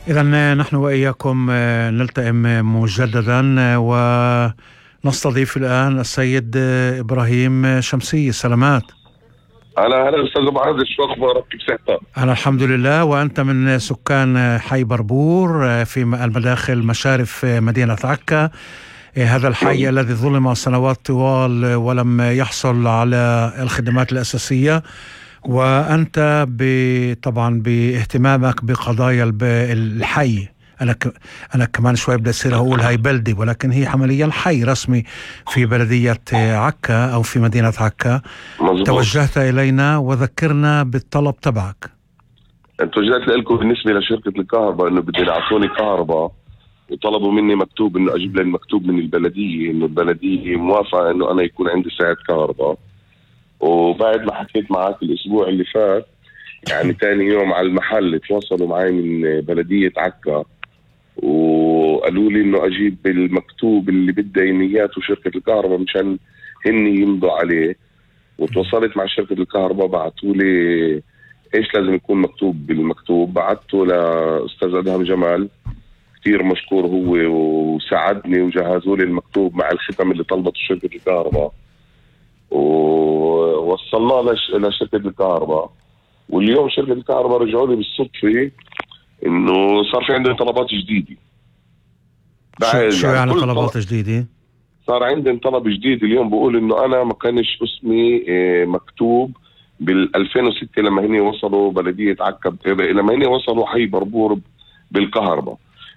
إذن نحن وإياكم نلتئم مجددا ونستضيف الآن السيد إبراهيم شمسي. سلامات. هلا أستاذ أبو عزيز، شو أخبارك؟ كيف صحتك؟ أنا الحمد لله. وأنت من سكان حي بربور في المداخل مشارف مدينة عكا، هذا الحي الذي ظلم سنوات طوال ولم يحصل على الخدمات الأساسية، وأنت طبعا باهتمامك بقضايا الحي. أنا كمان شوي بدي أصير أقول هاي بلدي، ولكن هي عمليا حي رسمي في بلدية عكا أو في مدينة عكا. مزبوط. توجهت إلينا وذكرنا بالطلب تبعك. توجهت لكم بالنسبة لشركة الكهرباء إنه بدهم يعطوني كهرباء، وطلبوا مني مكتوب إنه أجيب لهم مكتوب من البلدية إنه البلدية موافقة إنه أنا يكون عندي ساعة كهرباء. وبعد ما حكيت معك الأسبوع اللي فات، يعني تاني يوم على المحل تواصلوا معي من بلدية عكا وقالوا لي إنه أجيب المكتوب اللي بدها إيمياته شركة الكهرباء مشان هن يمضوا عليه. وتواصلت مع شركة الكهرباء، بعثوا لي إيش لازم يكون مكتوب بالمكتوب. بعثته لأستاذ أدهم جمال، كتير مشكور هو، وساعدني وجهزوا لي المكتوب مع الختم اللي طلبته شركة الكهرباء، ووصلناه لشركة الكهرباء. واليوم شركة الكهرباء رجعوا لي بالصدفة إنه صار في عندهم طلبات جديدة. شو يعني طلبات جديدة؟ صار عندهم طلب جديد اليوم، بقول إنه أنا ما كانش اسمي مكتوب بال2006 لما هني وصلوا بلدية عكا، لما هني وصلوا حي بربور بالكهرباء.